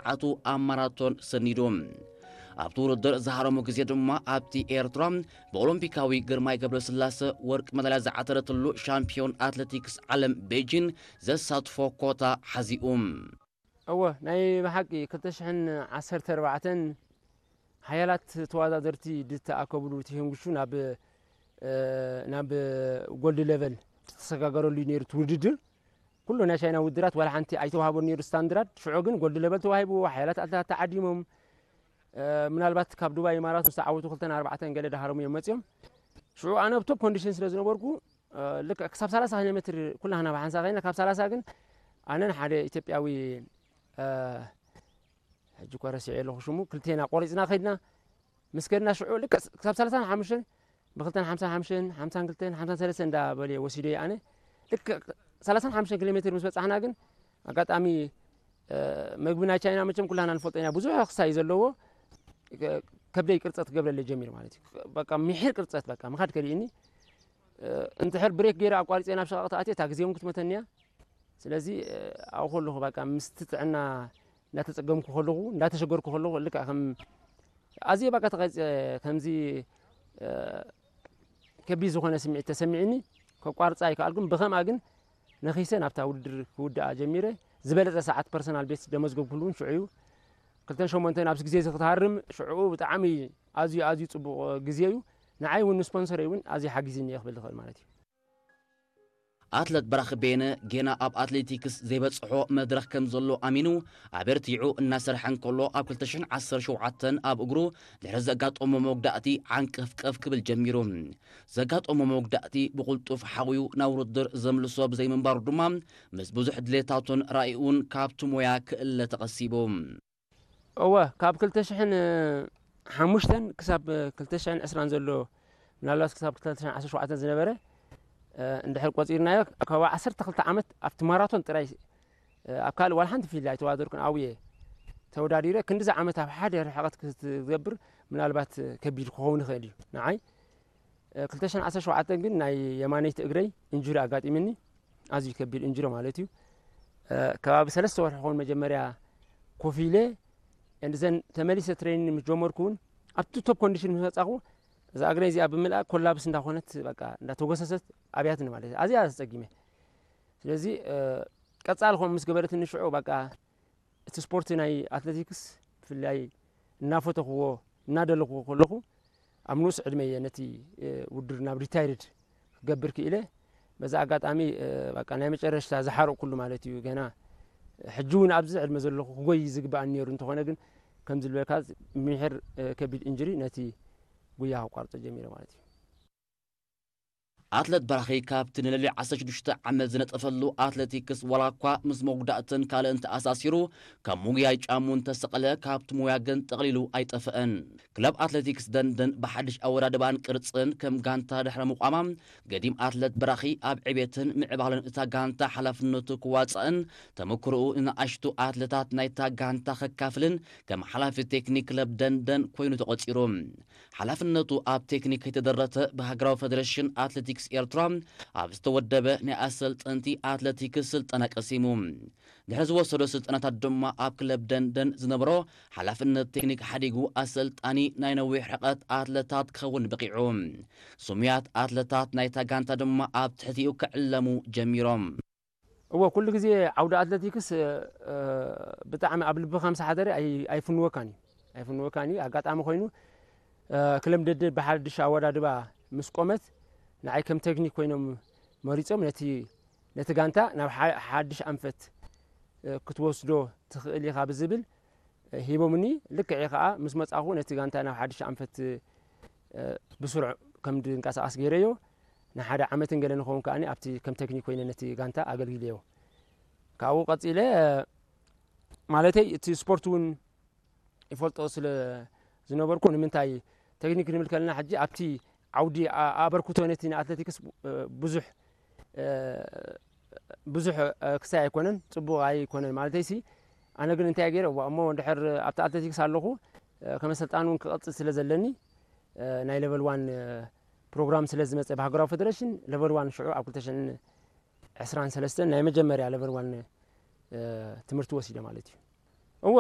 ሰዓቱ ኣብ ማራቶን ሰኒዱ። ኣብቲ ውድድር ዝሃረሙ ግዜ ድማ ኣብቲ ኤርትራ ብኦሎምፒካዊ ግርማይ ገብረስላሰ ወርቂ መዳልያ ዝዓተረትሉ ሻምፒዮን ኣትሌቲክስ ዓለም ቤጂን ዘሳትፎ ኮታ ሓዚኡ። እወ፣ ናይ ብሓቂ ክልተ ሽሕን ዓሰርተ ኣርባዕተን ሓያላት ተወዳደርቲ ዝተኣከብሉ እቲ ሄንጉሹ ናብ፣ እ፣ ናብ ጎልድ ሌቨል ዝተሰጋገረሉ እዩ ነይሩ እቲ ውድድር። ኩሉ ናይ ቻይና ውድድራት ዋላ ሓንቲ ኣይተዋህቦን ነይሩ ስታንዳርድ። ሽዑ ግን ጎልድ ሌቨል ተዋሂብዎ፣ ሓያላት ኣትሌታት ተዓዲሞም። እ፣ ምናልባት ካብ ዱባይ ኢማራት ምስ ተዓወቱ ክልተን ኣርባዕተን ገለ ዳሃሮም እዮም መጺኦም። ሽዑ ኣነ ኣብ ቶፕ ኮንዲሽን ስለ ዝነበርኩ፣ እ፣ ልክዕ ክሳብ ሰላሳ ኪሎ ሜትር ኩላህና ብሓንሳብ ከይና፣ ካብ ሰላሳ ግን ኣነን ሓደ ኢትዮጵያዊ፣ እ፣ ሕጂ እኳ ረሲዐ ኣለኹ ሽሙ፣ ክልቴና ቆሪጽና ከድና። ምስ ከድና ሽዑ ልክዕ ክሳብ ሰላሳን ሓሙሽተን ብክልተን ሓምሳን ሓሙሽተን፣ ሓምሳን ክልተን፣ ሓምሳን ሰለስተን እንዳበለ ወሲዶ ኣነ። ልክዕ ሰላሳን ሓሙሽተን ኪሎ ሜትር ምስ በጻሕና ግን ኣጋጣሚ፣ እ፣ መግቢ ናይ ቻይና መቸም ኩላና ንፈልጦ ኢና፣ ብዙሕ ክሳይ ዘለዎ፣ ከ-፣ ከብደይ ቅርጸት ክገብረለይ ጀሚሩ ማለት እዩ። በቃ ምሒር ቅርጸት በቃ ምኻድ ከሊእኒ። እ፣ እንድሕር ብሬክ ገይረ ኣቋሪጸ ናብ ሸቓቕ ተኣትየ እታ ግዜ እውን ክትመተኒ እያ። ስለዚ፣ እ፣ ኣብኡ ከለኹ በቃ ምስቲ ጥዕና እንዳተጸገምኩ ከለኹ፣ እንዳተሸገርኩ ከለኹ ልክዕ ከም ኣዝየ በቃ ተቐሪጸ ከምዚ፣ እ፣ ከቢድ ዝኾነ ስምዒት ተሰሚዕኒ። ከቋርጻ ኣይከኣልኩን። ብኸምኣ ግን ነኺሰ ናብታ ውድድር ክውድኣ ጀሚረ። ዝበለጸ ሰዓት ፐርሰናል ቤስት ደመዝገብኩሉ እውን ሽዑ እዩ። ክልተን ሸሞንተን ኣብዚ ግዜ እዚ ክትሃርም ሽዑ ብጣዕሚ ኣዝዩ፣ ኣዝዩ ጽቡቕ ግዜ እዩ። ንዓይ እውን ንስፖንሰረይ እውን ኣዝዩ ሓጊዝኒ እየ ክብል ዝኽእል ማለት እዩ። ኣትለት በራኺ ቤነ ጌና ኣብ ኣትሌቲክስ ዘይበጽሖ መድረኽ ከም ዘሎ ኣሚኑ ኣበርቲዑ እናሰርሐ እንከሎ፣ ኣብ ክልተ ሽሕን ዓሰርተ ሸውዓተን ኣብ እግሩ ድሕሪ ዘጋጠሞ መጉዳእቲ ዓንቀፍቀፍ ክብል ጀሚሩ። ዘጋጠሞ መጉዳእቲ ብቕልጡፍ ሓቑዩ ናብ ውድድር ዘምልሶ ብዘይምንባሩ ድማ፣ ምስ ብዙሕ ድሌታቱን ራእይኡን ካብቲ ሞያ ክእለ ተቐሲቡ። እወ፣ ካብ ክልተ ሽሕን ሓሙሽተን ክሳብ ክልተ ሽሕን ዕስራን ዘሎ፣ ምናልባት ክሳብ ክልተ ሽሕን ዓሰርተ ሸውዓተን ዝነበረ፣ እ፣ እንድሕር ቆጺርናዮ፣ ካብ ዓሰርተ ክልተ ዓመት ኣብቲ ማራቶን ጥራይ፣ እ፣ ኣብ ካልእ ዋላ ሓንቲ ፊልድ ኣይተወዳደርኩን። ኣብየ ተወዳዲረ፣ ክንድዚ ዓመት ኣብ ሓደ ርሕቐት ክትገብር ምናልባት ከቢድ ክኸውን ይኽእል እዩ ንዓይ። እ፣ ክልተ ሽሕን ዓሰርተ ሸውዓተን ግን ናይ የማነይቲ እግረይ ኢንጁሪ ኣጋጢምኒ፣ ኣዝዩ ከቢድ ኢንጁሪ ማለት እዩ። እ፣ ከባቢ ሰለስተ ወርሒ ክኸውን መጀመርያ ኮፍ ኢለ፣ and then ተመሊሰ ትሬኒንግ ምስ ጀመርኩ እውን ኣብቲ ቶፕ ኮንዲሽን ምስ መጻኹ፣ እዛ እግረይ እዚኣ ብምልኣ ኮላፕስ እንዳኾነት፣ በቃ እንዳተጎሰሰት ኣብያትኒ ማለት እዩ። ኣዝያ ተጸጊመ። ስለዚ፣ እ፣ ቀጻሊ ከምኡ ምስ ገበረትኒ ሽዑ በቃ እቲ ስፖርት ናይ ኣትሌቲክስ ብፍላይ እናፈተኽዎ እናደለኽዎ ከለኹ ኣብ ንኡስ ዕድመ እየ ነቲ፣ እ፣ ውድድር ናብ ሪታይርድ ክገብር ክኢለ። በዛ ኣጋጣሚ፣ እ፣ በቃ ናይ መጨረሽታ ዝሓረቕኩሉ ማለት እዩ። ገና ሕጂ እውን ኣብዚ ዕድመ ዘለኹ ክጎይ ዝግባኣኒ ነይሩ። እንተኾነ ግን ከምዚ ዝበልካ ምሕር፣ እ፣ ከቢድ ኢንጅሪ ነቲ ጉያ ከቋርጾ ጀሚረ ማለት እዩ። ኣትለት በራኺ ካብቲ ንልዕሊ ዓሰርተ ሽዱሽተ ዓመት ዝነጠፈሉ ኣትሌቲክስ፣ ዋላ እኳ ምስ መጉዳእትን ካልእን ተኣሳሲሩ ካብ ምጉያይ ጫሙ እንተሰቐለ፣ ካብቲ ሙያ ግን ጠቕሊሉ ኣይጠፍአን። ክለብ ኣትሌቲክስ ደንደን ብሓድሽ ኣወዳድባን ቅርጽን ከም ጋንታ ድሕሪ ምቋማ፣ ገዲም ኣትለት በራኺ ኣብ ዕቤትን ምዕባለን እታ ጋንታ ሓላፍነቱ ክዋጻእን ተመክሮኡ ንኣሽቱ ኣትለታት ናይታ ጋንታ ከካፍልን ከም ሓላፊ ቴክኒክ ክለብ ደንደን ኮይኑ ተቖጺሩ። ሓላፍነቱ ኣብ ቴክኒክ ከይተደረተ ብሃገራዊ ፈደረሽን ኣትሌቲክስ ኤርትራ ኣብ ዝተወደበ ናይ ኣሰልጠንቲ ኣትሌቲክስ ስልጠና ቀሲሙ። ድሕሪ ዝወሰዶ ስልጠናታት ድማ ኣብ ክለብ ደንደን ዝነበሮ ሓላፍነት ቴክኒክ ሓዲጉ ኣሰልጣኒ ናይ ነዊሕ ርሕቀት ኣትለታት ክኸውን በቒዑ። ስሙያት ኣትለታት ናይታ ጋንታ ድማ ኣብ ትሕቲኡ ክዕለሙ ጀሚሮም። እወ፣ ኩሉ ግዜ ዓውዲ ኣትሌቲክስ፣ እ፣ ብጣዕሚ ኣብ ልብኻ ምስ ሓደረ ኣይ-፣ ኣይፍንወካን እዩ። ኣይፍንወካን እዩ። ኣጋጣሚ ኮይኑ፣ እ፣ ክለብ ደንደን ብሓድሽ ኣወዳድባ ምስ ቆመት፣ ንዓይ ከም ቴክኒክ ኮይኖም መሪጾም ነቲ፣ ነቲ ጋንታ ናብ ሓ-፣ ሓድሽ ኣንፈት፣ እ፣ ክትወስዶ ትኽእል ኢኻ ብዝብል ሂቦምኒ። ልክዕ እዩ ኸዓ፣ ምስ መጻኹ ነቲ ጋንታ ናብ ሓድሽ ኣንፈት፣ እ፣ ብስሩዕ ከም ድንቀሳቐስ ገይረዮ። ንሓደ ዓመትን ገለን ንኸውን ከኣ ኣብቲ ከም ቴክኒክ ኮይነ ነቲ ጋንታ ኣገልጊለዮ። ካብኡ ቀጺለ፣ ማለተይ እቲ ስፖርት እውን ይፈልጦ ስለ ዝነበርኩ፣ ንምንታይ ቴክኒክ ክንብል ከለና ሕጂ ኣብቲ ዓውዲ ኣ-፣ ኣበርክቶ ነቲ ንኣትሌቲክስ፣ እ፣ ብዙሕ፣ እ፣ ብዙሕ፣ እ፣ ክሳይ ኣይኮነን፣ ጽቡቕ ኣይኮነን ማለተይሲ። ኣነ ግን እንታይ ገይረ፣ እዋ እሞ እንድሕር ኣብቲ ኣትሌቲክስ ኣለኹ፣ እ፣ ከም ኣሰልጣኒ እውን ክቐጽል ስለ ዘለኒ፣ እ፣ ናይ ሌቨል ዋን፣ እ፣ ፕሮግራም ስለ ዝመጸ ብሃገራዊ ፌደሬሽን፣ ሌቨል ዋን ሽዑ ኣብ ክልተ ሽሕን ዕስራን ሰለስተን ናይ መጀመርያ ሌቨል ዋን፣ እ፣ ትምህርቲ ወሲደ ማለት እዩ። እወ፣